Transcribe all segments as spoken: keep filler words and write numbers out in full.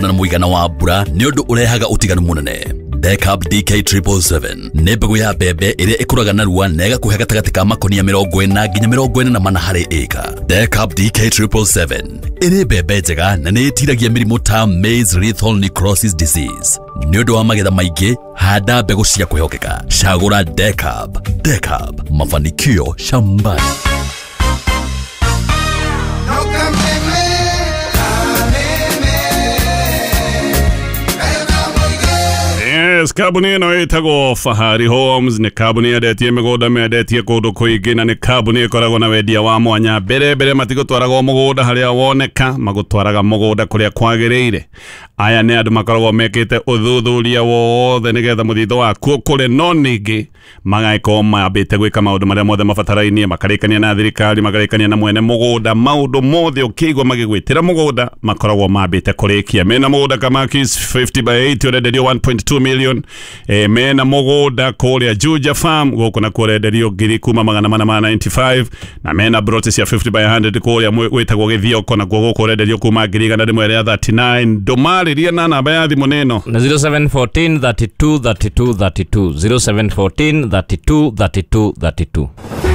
Na mũigana wa mbura nĩ ũndũ ũrehaga ũtiganu mũnene. Decab D K triple seven nĩ mbegũ ya mbembe ĩrĩa ĩkũraga narua na ĩgakũhe gatagatĩ ka makonia mĩrongo ĩna nginya mĩrongo ĩna na mana harĩ ĩka. Decab D K triple seven ĩrĩ mbembe njega na nĩ ĩtiragia mĩrimũ ta maize lethal necrosis disease. Nĩ ũndũ wa magetha maingĩ, handa mbegũ cia kwĩhokeka. Cagũra Decab. Decab, mafanikio shambani. Yes, kambuni ĩno ĩtagwo Fahari Homes nĩ kambuni yendetie mĩgũnda, mendetie kũndũ kũingĩ, na nĩ kambuni ĩkoragwo na wendia wa mwanya. Mbere mbere matigũtwaraga mũgũnda harĩa woneka, magũtwaraga mũgũnda kũrĩa kwagĩrĩire. Aya nĩ andũ makoragwo mekĩte ũthuthuria wothe nĩgetha mũthithũ waku ũkũre, no ningĩ magagĩkorwo mambĩte gwĩka maũndũ marĩa mothe mabatarainie, makarĩkania na thirikari, makarĩkania na mwene mũgũnda, maũndũ mothe ũkĩigua magĩgwĩtĩra mũgũnda makoragwo mambĩte kũrĩkia. Mena mũgũnda Kamakis fifty by eight ũrenderio one point two million. E, mena mũgũnda kũrĩa Juja Farm gũkũ na kũrenderio ngiri kuma magana mana ma ninety-five, na mena broti cia fifty by one hundred kũrĩa gwĩtagwo Gĩthioko na kuo gũkũ ũrenderio kuma ngiri igana rĩmwe rĩa thirty-nine. Ndũmarĩrie na namba ya thimũ nĩno na zero seven fourteen thirty-two thirty-two thirty-two, zero seven fourteen thirty-two thirty-two thirty-two.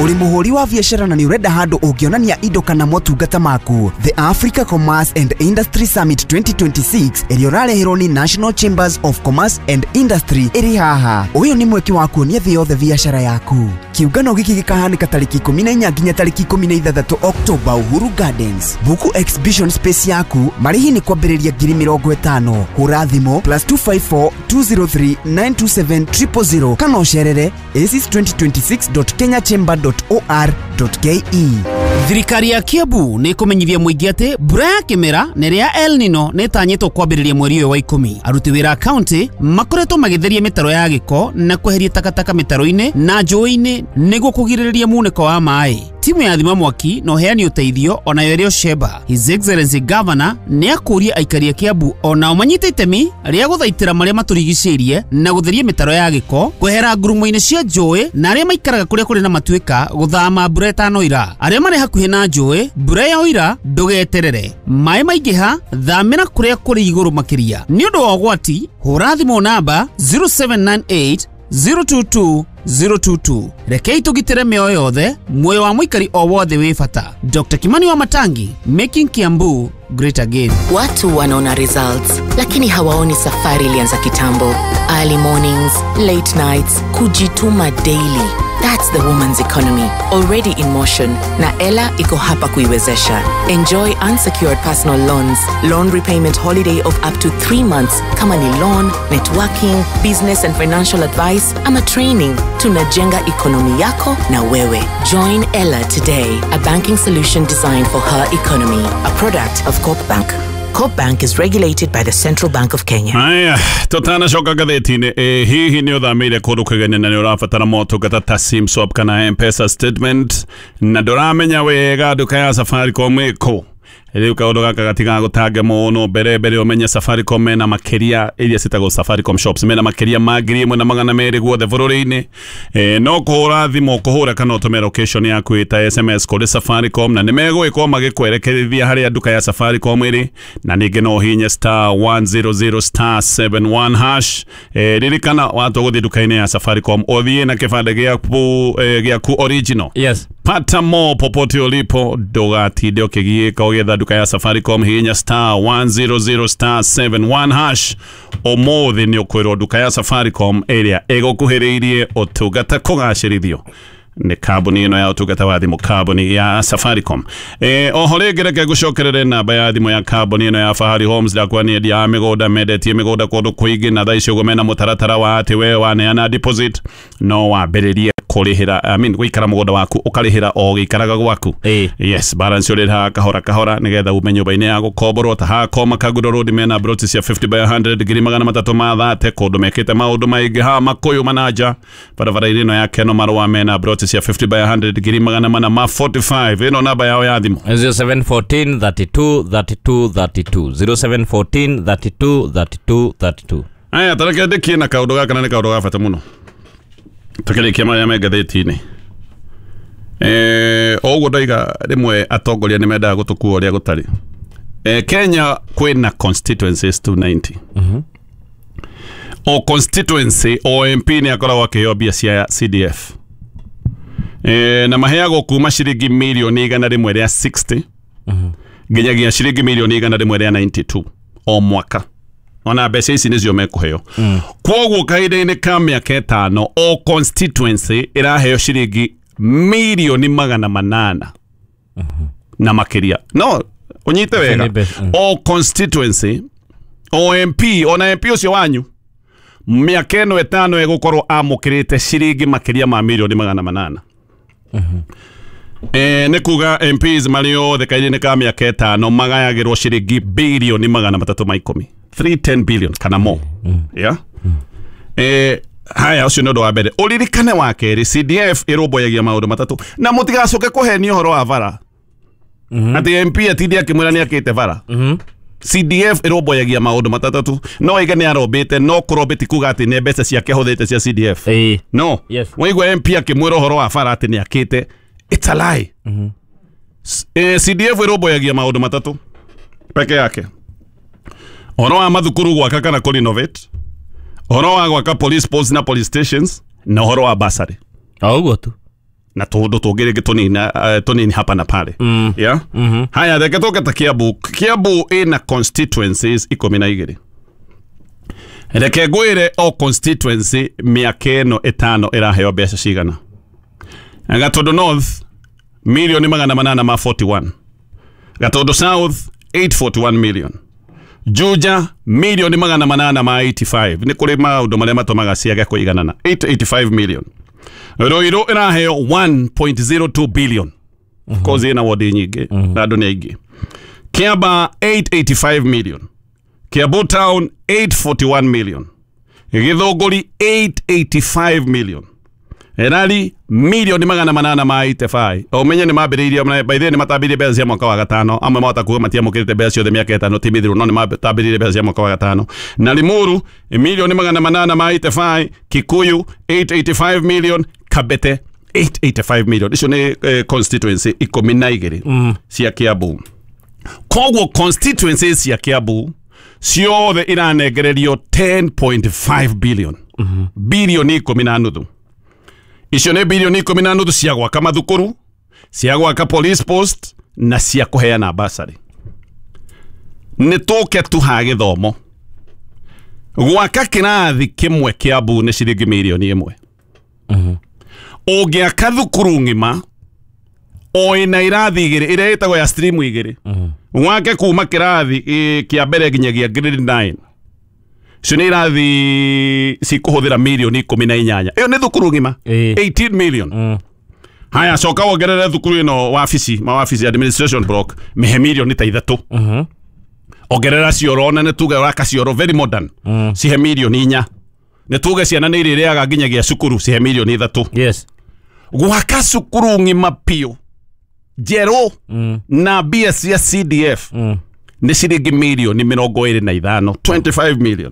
Uri muhuri wa biashara na ni urenda handu ungionania indo kana motungata maku. The Africa Commerce and Industry Summit twenty twenty-six ĩrĩa ũrareherwo ni National Chambers of Commerce and Industry ĩrĩ haha. Ũyũ nĩ mweke wa kuonia thĩ yothe biashara yaku. Kiũngano gĩkĩ gĩkahanĩka tarĩki ikũmi na inya nginya tarĩki ikũmi na ithathatũ October Uhuru Gardens. Buku exhibition space yaku, marĩhi nĩ kwambĩrĩria ngiri mĩrongo ĩtano. Hũra thimũ plus two five four two zero three nine two seven triple zero kana ũcerere aces twenty twenty-six dot kenya chamber dot or dot ke. Thirikari ya Kiambu nĩ ĩkũmenyithia mũingĩ atĩ mbura ya kĩmera na ĩrĩa ya El Nino nĩ ĩtanyĩtwo kwambĩrĩria mweri ũyũ wa ikũmi. Aruti wĩra a kaunti makoretwo magĩtheria mĩtaro ya gĩko na kweheria takataka mĩtaro-inĩ na njũĩ-inĩ nĩguo kũgirĩrĩria munĩko wa maĩ. Timu ya thima mwaki na ũheani ũteithio onayo ĩrĩ Sheba. His Excellency Governor nĩ akũria aikari a Kiambu onao manyite itemi rĩa gũthaitĩra marĩa matũrigicĩirie na gũtheria mĩtaro ya gĩko, kwehera ngurumo-inĩ cia njũĩ, na arĩa maikaraga kũrĩa kũrĩ na matuĩka gũthama mbura ĩtanoira. Arĩa marĩ hakuhĩ na njũĩ, mbura yaoira ndũgeterere. Maĩ maingĩha, thamĩra kũrĩa kũrĩ igũrũ makĩria. Nĩ ũndũ wa ũgwati, hũra thimũ namba zero seven nine eight zero two two zero two two. Rekei tũgitĩre mĩoyo yothe, muoyo wa mũikari o wothe wĩ bata. Doctor Kimani wa Matangi, making Kiambu great again. Watu wanaona results, lakini hawaoni safari ilianza kitambo. Early mornings, late nights, kujituma daily. That's the woman's economy, already in motion. Na Ella iko hapa kuiwezesha. Enjoy unsecured personal loans, loan repayment holiday of up to three months, kama ni loan, networking, business and financial advice, ama training. Tunajenga economy yako na wewe. Join Ella today, a banking solution designed for her economy. A product of Corp Bank. Corp Bank is regulated by the Central Bank of Kenya. Aya, tutanacoka ngathĩti-inĩ. Ĩ hihi nĩ ũthamĩire kũndũ kũgeni na nĩ ũrabatara motungata ta SIM swap kana M-Pesa statement na ndũramenya wega nduka ya Safaricom ĩkũ? Rĩu kaũndũ gaka gatigagũtange mũno. Mbere mbere ũmenye Safaricom mena makĩria iria citagwo Safaricom shops, mena makĩria ma ngiri ĩmwe na magana merĩ guothe bũrũri-inĩ. E, no kũhũra thimũ kũhũra kana ũtũme location yaku ĩta S M S kũrĩ Safaricom na nĩmegũgĩkorwo magĩkwerekerithia harĩa nduka ya Safaricom ĩrĩ, na ningĩ no ũhihinye star one zero zero star seven one hash. E, ririkana watua gũthiĩ nduka-inĩ ya Safaricom ũthiĩ na kĩbandĩ gĩaku, e, gĩaku original. Yes. Pata mo popote ulipo, ndũgatinde ũkĩgiĩka ũgĩetha nduka ya Safaricom. Hihinya star one zero zero star seven one hash. Ũmũthĩ nĩ ũkwĩrwo nduka ya Safaricom ĩrĩa ĩgũkuhĩrĩirie ũtungata kũgacĩrithio nĩ kambuni ĩno ya ũtungata wa thimũ, kambuni ya Safaricom. E, oho rĩngĩ reke ngũcokerere namba ya thimũ ya kambuni ĩno ya Fahari Homes. Ndakwa nĩ endia a mĩgũnda, mendetie mĩgũnda kũndũ kũingĩ, na thaa ici ũguo mena mũtaratara wa atĩ we waneana deposit no wambĩrĩrie kũrĩhĩra, I mean gũikara mũgũnda waku ũkarĩhĩra o gĩikaraga gwaku. Ĩĩ. Yes, balance ũrĩhaga kahora kahora nĩgetha ume nyũmba-inĩ ya gũkomborwo. Ta haha Koma Kangundo Road mena broti cia fifty by hundred ngiri magana matatũ ma thate, kũndũ mekĩte maũndũ maingĩ. Haha Makũyũ Manaja barabara-inĩ ĩno ya Keno Marũa mena broti cia fifty by hundred ngiri magana mana ma forty-five. Ĩno namba yao ya thimũ zero seven fourteen thirty-two thirty-two thirty-two, zero seven fourteen thirty-two thirty-two thirty-two. Aya, tareke ndĩkie na kaũndũ gaka na nĩ kaũndũ ga bata mũno. Tukĩrĩkia marĩa me ngathĩti-inĩ. Eh, o ũguo ndoiga rĩmwe atongoria nĩ mendaga gũtũkua ũrĩa gũtarĩ. Eh, Kenya kwĩna constituencies two ninety. mm -hmm. O constituency, o M P nĩ akoragwo akĩheo mbia cia C D F, e, na maheagwo kuma ciringi mirioni igana rĩmwe rĩa sixty nginyagia ciringi mirioni igana rĩmwe rĩa ninety-two o mwaka. Ona mbeca ici nĩcio mekũheo. mm. Kwoguo kahinda-inĩ ka mĩaka ĩtano, o constituency ĩraheo ciringi mirioni magana manana na makĩria. No ũnyite wega, nĩ mbeca, mm. o constituency, o M P, ona M P ũcio wanyu, mĩaka ĩno ĩtano ĩgũkorwo amũkĩrĩte ciringi makĩria ma mirioni magana manana. Eh, nĩ kuga M Ps marĩ othe kahinda-inĩ ka mĩaka ĩtano magayagĩrwo ciringi birioni magana matatũ ma ikũmi, three hundred ten billion kana mo. Yeah? Eh, haya, ũcio nĩ ũndũ wa mbere ũririkane. Wa kerĩ, C D F ĩrũmbũyagia maũndũ matatũ, na mũtigacoke kũhenio ũhoro wa bara atĩ M P atinde akĩmwĩra nĩ akĩte bara. C D F ĩrũmbũyagia maũndũ matatũ. No ige nĩ arombĩte, no kũrombe ti kuga atĩ nĩ mbeca ciake ahũthĩrĩte cia C D F. Ĩĩ. No Yes. waigua M P akĩmwĩra ũhoro wa bara atĩ nĩ akĩte, it's a lie. S- eh, C D F ĩrũmbũyagia maũndũ matatũ peke yake: ũhoro wa mathukuru gwaka kana kũ renovate, ũhoro wa gwaka police posts na police stations, na ũhoro wa bursary. O ũguo tu. Na tũndũ tũngĩ rĩngĩ tũnini, eh, tũnini hapa na pale. mm. Yeah? mm -hmm. Haya, reke tũke ta Kiambu. Kiambu ĩna constituencies ikũmi na igĩrĩ. Reke ngwĩre o constituency mĩaka ĩno ĩtano ĩraheo mbeca cigana. Gatundu North, milioni magana manana ma forty-one. Gatundu South, eight hundred forty-one million. Juja, milioni magana manana ma eighty-five. Nĩ kũrĩ maũndũ marĩa matũmaga ciage kũiganana. eight hundred eighty-five million. Ruiru ĩraheo one point zero two billion. Of course ĩna wodi nyingĩ na andũ nĩ aingĩ. Kiambaa, eight hundred eighty-five million. Kiambu Town, eight hundred forty-one million. Githunguri, eight hundred eighty-five million. Erari, milioni magana manana ma eighty-five. Ũmenye nĩ mambĩrĩirie, by the way, nĩ matambĩrĩirie mbeca cia mwaka wa gatano. Amwe mahota kuga matiamũkĩrĩte mbeca ciothe mĩaka ĩtano ti mĩthiru, no nĩ matambĩrĩirie mbeca cia mwaka wa gatano. Na Limuru, milioni magana manana ma eighty-five. Kikuyu, eight hundred eighty-five million. Kabete, eight hundred eighty-five million. Icio nĩ eh, constituency ikũmi na igĩrĩ cia Kiambu. Koguo constituencies cia Kiambu ciothe iranengererio ten point five billion, bilioni ikũmi na nuthu. Icio nĩ bilioni ikũmi na nuthu cia gwaka mathukuru, cia gwaka police post na cia kũheana bursary. Nĩ tũke tu ha gĩthomo. Gwaka kĩrathi kĩmwe Kiambu nĩ ciringi mirioni ĩmwe. Ũngĩaka thukuru ng'ima o ĩna irathi igĩrĩ, ĩrĩa ĩtagwo ya stream igĩrĩ, wake kuma kĩrathi eh, kĩa mbere nginyagia grade nine, icio nĩ irathi cikũhũthĩra mirioni ikũmi na inyanya. Ĩyo nĩ thukuru ng'ima. Ĩĩ. eighteen million. Haya, coka wongerere thukuru ĩno wabici, mawabici, administration block, mĩhe mirioni ta ithatũ. Ongerera cioro, na nĩ tuge ũraka cioro very modern, cihe mirioni inya. Nĩ tuge ciana nĩ irĩrĩaga nginyagia cukuru, cihe mirioni ithatũ. Yes. Gwaka cukuru ng'ima piũ njerũ na mbia cia C D F nĩ ciringi mirioni mĩrongo ĩrĩ na ithano, twenty-five million.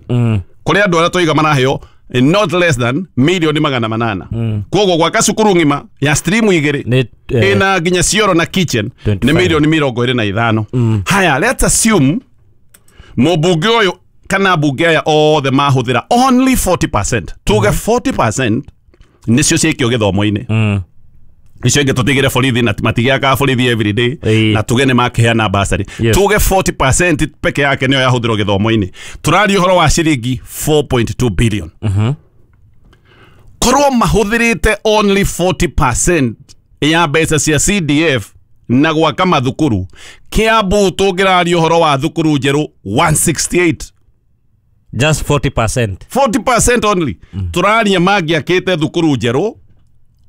Kũrĩ andũ arĩa tũiga maraheo eh, not less than mirioni magana manana. Koguo gwaka cukuru ng'ima ya stream igĩrĩ Nĩ eh, ĩna nginya cioro na kitchen nĩ twenty-five. mirioni mĩrongo ĩrĩ na ithano. Haya, let's assume mũmbunge ũyũ kana mbunge aya othe mahũthĩra only forty percent. Tuge forty percent nĩcio ciĩkio gĩthomo-inĩ, mm. icio ingĩ tũtigĩre borithi na matigĩakaga borithi every day, Ĩĩ. na tuge nĩ makĩheana bursary. Yes. Tuge forty percent peke yake nĩyo yahũthĩrwo gĩthomo-inĩ, tũraria ũhoro wa ciringi four point two billion. Korwo mahũthĩrĩte only forty percent ya mbeca cia C D F na gwaka mathukuru, Kiambu tũngĩraria ũhoro wa thukuru njerũ one hundred sixty-eight. Just forty percent. forty percent only. Tũraria mangĩakĩte thukuru njerũ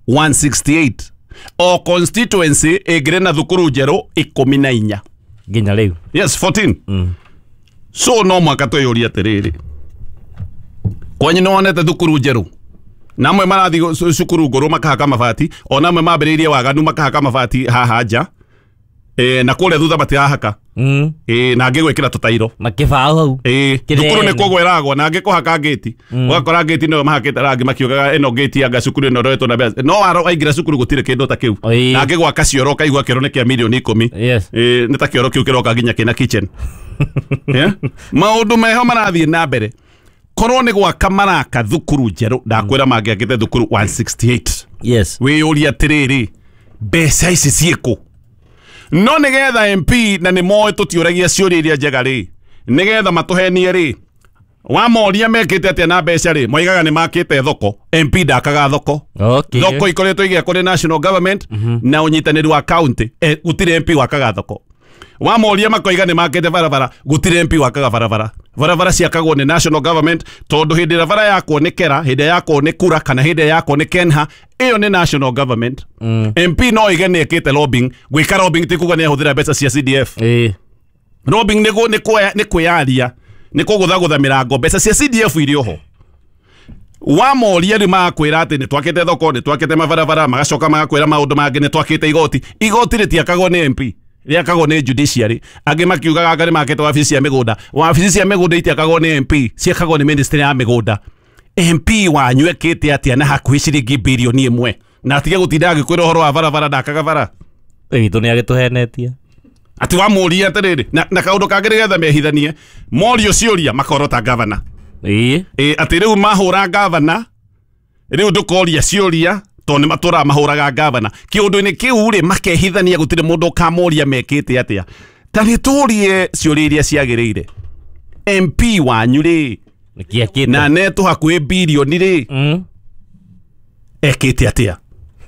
one hundred sixty-eight. O constituency ĩngĩrĩ na thukuru njerũ ikũmi na inya. Nginya rĩu. Yes, fourteen. mm. So no mwaka twĩyũrie atĩrĩrĩ, kwanyu nĩ wonete thukuru njerũ? Na amwe marathiĩ cu- cukuru ngũrũ makahaka mabati, ona amwe mambĩrĩirie waganu makahaka mabati haha nja, e, na kũrĩa thutha matirahaka. Mm. Ĩ na angĩgwĩkĩra tũtairo na kĩbaũ hau. Ĩ thukuru nĩ kũgwa ĩragwa na angĩkũhaka ngĩti ũgakora ngĩti nĩyo mahakĩte rangi makiugaga ĩno ngĩti anga cukuru ĩno ĩroetwo na mbeca no waro waingĩra cukuru gũtirĩ kĩndũ ta kĩu na angĩgwaka cioro ũkaigua kĩoro nĩ kĩa mirioni ikũmi. Yes. Ĩ nĩ ta kĩoro kĩu kĩroka nginya kĩna kitchen. Yeah? Maũndũ meho marathiĩ na mbere korwo nĩ gwaka maraka thukuru njerũ ndakwĩra mangĩakĩte thukuru one sixty-eight. Yes. Wĩyũria atĩrĩrĩ mbeca ici ciĩkũ no nĩgetha M P na nĩ moĩ tũtiũragia ciũria iria njega rĩ nĩgetha matũhenie rĩ wamoria mekĩte atĩa na mbeca rĩ moigaga nĩ makĩte thoko. M P ndakaga thoko. Okay. Thoko ikoretwo igĩakwo nĩ national government na ũnyitanĩri wa county. Eh, gũtirĩ M P wakaga thoko. Wamoria makoiga nĩ makĩte barabara gũtirĩ M P wakaga barabara. Barabara ciakagwo nĩ national government tondũ hĩndĩ ĩrĩa bara yakwo nĩ Kera hĩndĩ ĩrĩa yakwo nĩ Kura kana hĩndĩ ĩrĩa yakwo nĩ Kenha ĩyo nĩ national government. Mm. M P no ige nĩ ĩkĩte lobbying. Gwĩka lobbying ti kuga nĩ ahũthĩra mbeca cia C D F. Eh. Lobbying nĩ nĩ nĩ kwĩyaria nĩ kũgũthagũtha mĩrango mbeca cia C D F irĩ oho. Wamoria rĩ magakwĩra atĩ nĩ twakĩte thoko nĩ twakĩte mabarabara magacoka magakwĩra maũndũ mangĩ nĩ twakĩte igoti. Igoti rĩtiakagwo nĩ M P rĩakagwo nĩ judiciary. Angĩ makiugaga anga nĩ makĩte wabici cia mĩgũnda. Wabici cia mĩgũnda itiakagwo nĩ M P ciakagwo nĩ ministry ya mĩgũnda. M P wanyu ekĩte atĩa na hakuhĩ ciringi birioni ĩmwe na atige gũtinda agĩkwĩra ũhoro wa barabara ndakaga bara witũ nĩ agĩtũhenetie atĩ wamũria atĩrĩrĩ na, na kaũndũ kangĩ nĩgetha mehithanie morio ciũria makorota gavana. Ĩĩ ĩ atĩ rĩu mahũra gavana rĩu ndũkoria ciũria tondũ nĩ matũraga mahũraga gavana kĩũndũ-inĩ kĩu rĩ makehithania gũtirĩ mũndũ ũkamoria mekĩte atĩa. Ta nĩ tũrie ciũria iria ciagĩrĩire. M P wanyu rĩ na netũ hakuhĩ birioni rĩ mm. ekĩte atĩa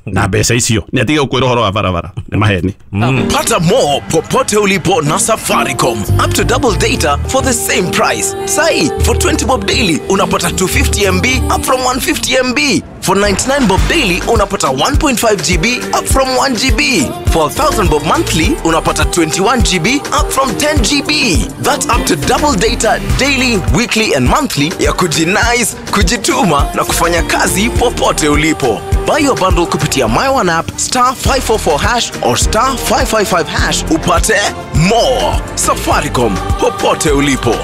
na mbeca icio nĩ atige gũkwĩra ũhoro wa barabara nĩ maheni. Mm. Pata more popote ulipo na Safaricom. Up to double data for the same price. Sai, for twenty bob daily unapata two fifty M B up from one fifty M B. For ninety-nine bob daily unapata one point five G B up from one G B. For one thousand bob monthly unapata twenty-one G B up from ten G B. That's up to double data daily, weekly and monthly ya kujinice, kujituma na kufanya kazi popote ulipo. Buy your bundle kupitia My One app star five four four hash or star five five five hash upate more. Safaricom, popote ulipo.